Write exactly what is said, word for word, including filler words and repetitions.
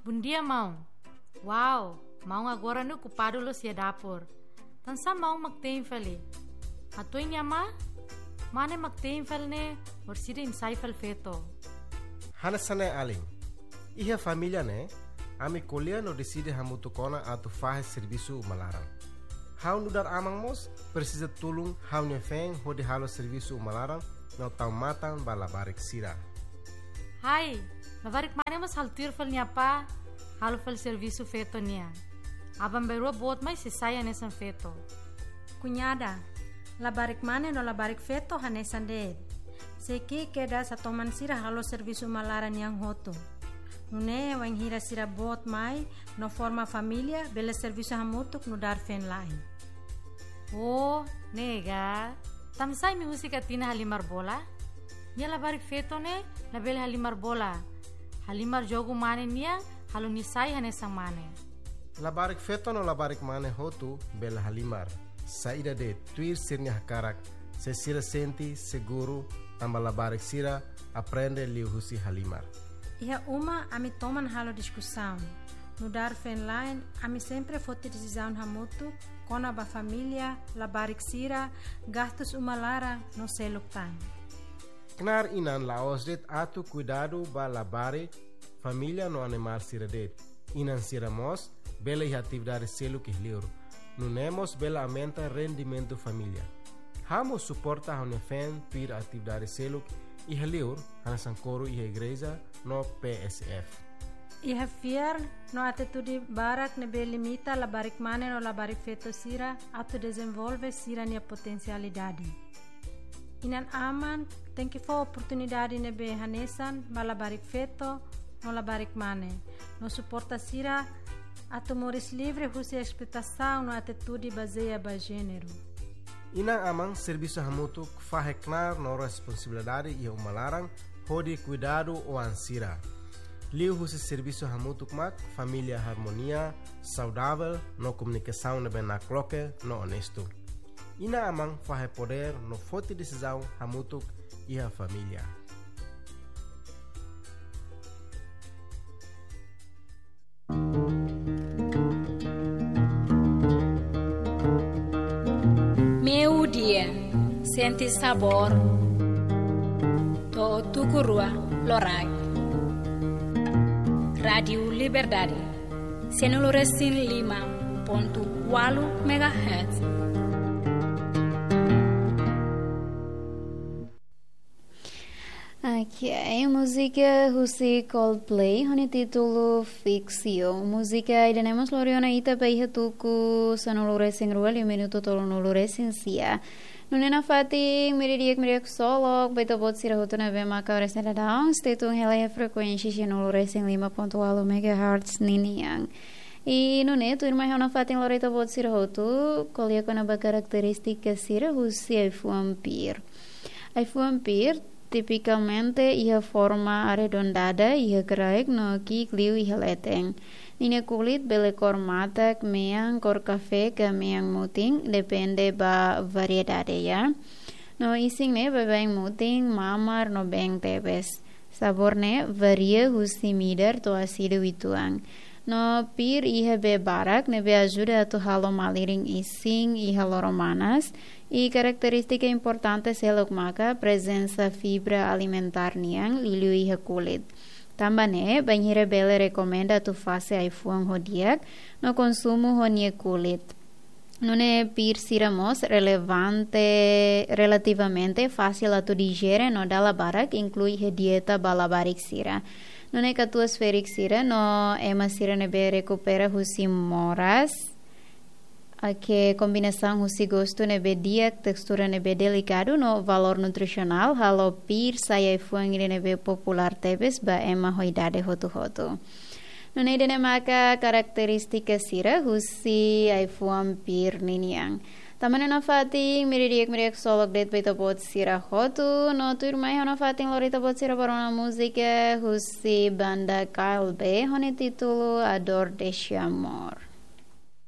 Bondia, maun. Wow, maun agora ne'e okupadu loos iha dapur. Tansá maun mak tein fali? Hatuin nia amá, mane mak tein fali ne'e, orsida nia sai fali feto. Hanesan ne'e alin. Iha família ne'e, ami ko'alia no deside hamutuk ona atu fahe servisu uma laran. Ha'u nu'udar aman mós presiza tulun ha'u-nia feen hodi halo servisu uma laran no tau matan ba labarik sira. Hai, labarik mane mós halo tuir fali nia apá, halo fali servisu feto nian. Aban-bainrua boot mai sei sai hanesan feto. Kuñada, labarik mane no labarik feto hanesan de'it. Sei ki'ik kedas atu toman sira halo servisu uma laran nian hotu. Nune'e wainhira sira boot mai no forma família, bele servisu hamutuk nu'udar feen-la'en. Oh, ne'e ka. Tansá imi husik Atina halimar bola? Nia labarik feto ne'e labele halimar bola. Halimar jogu mane nian, halo nia sai hanesan mane. Labarik feto no labarik mane hotu bele halimar. Saida de'it, tuir sira-nia hakarak, se sira sente seguru, tanba labarik sira aprende liuhusi halimar. Iha uma ami toman halo diskusaun. Nu'udar feen-la'en, ami sempre foti desizaun hamutuk kona-ba família, labarik sira, gastus uma laran no seluk tan. Knaar inan la'ós de'it atu kuidadu ba labarik, família no animál sira de'it. Inan sira mós bele iha atividade seluk iha li'ur. Nune'e mós bele aumenta rendimentu família. Ha'u mós suporta ha'u-nia feen tuir atividade seluk iha li'ur, hanesan koru iha igreja no P S F. Iha fiar no atitude barak ne'ebé limita labarik mane no labarik feto sira atu dezenvolve sira-nia potensialidade. Inan-aman tenke fó oportunidade ne'ebé hanesan ba labarik feto no labarik mane, no suporta sira atu moris livre husi esploitasaun no atitude bazeia ba jéneru. Inan-aman servisu hamutuk fahe knaar no responsabilidade iha uma laran hodi kuidadu oan sira. Liuhusi servisu hamutuk mak família harmonia, saudavel no komunikasaun ne'ebé nakloke no onestu. Inan-aman fahe podér no foti desizaun hamutuk iha família. Meio-dia, sente sabor, to'o tuku rua loraik. Rádiu Liberdade, sanulu-resin-lima pontu ualu megahertz. Ok, múzika husi Coldplay, ho nia títulu Fix You. Múzika ida-ne'e mós lori ona ita ba iha tuku sanulu-resin-rua liu minutu tolunulu-resin-sia. Nune'e nafatin, meiudia di'ak, meiudia ksolok ba ita-boot sira hotu ne'ebé maka oras ne'e daudaun stay tune hela iha frekuénsia sanulu-resin-lima pontu ualu megahertz ninian. I nune'e tuirmai ha'u nafatin lori ita-boot sira hotu ko'alia kona-ba karakterístika sira husi ai-fuan pir. Ai-fuan pir tipikalmente iha forma arredondada iha kraik no ki'ik liu iha leten. Ninia kulit bele kór matak, mean, kór kafé ka mean mutin, depende ba variedade, ya. No isin ne'e baibain mutin, mamar no been tebes. Sabór ne'e varia husi midar to'o asidu uitoan. No pir iha bee barak ne'ebé ajuda atu halo malirin isin iha loron manas. I karakterístika importante seluk maka prezensa fibra alimentár nian liuliu iha kulit. Tanba ne'e, bainhira bele rekomenda atu fase ai-fuan ho di'ak no konsumu ho nia kulit. Nune'e pir sira mós relevante, relativamente fasil atu dijere no dala barak inklui iha dieta ba labarik sira. Nune'e katuas-ferik sira no ema sira ne'ebé rekupera husi moras, ake kombinasaun husi gostu ne'ebé di'ak, testura ne'ebé delikadu no valór nutrisionál halo pir sai ai-fuan ida ne'ebé populár tebes ba ema ho idade hotu-hotu. Nune'e ida-ne'e maka karakterístika sira husi ai-fuan pir ninian. Tanba ne'e nafatin, meiudia di'ak, meiudia ksolok de'it ba ita-boot sira hotu, no tuirmai ha'u nafatin lori ita-boot sira ba rona múzika husi banda K L B ho nia títulu A Dor Deste Amor.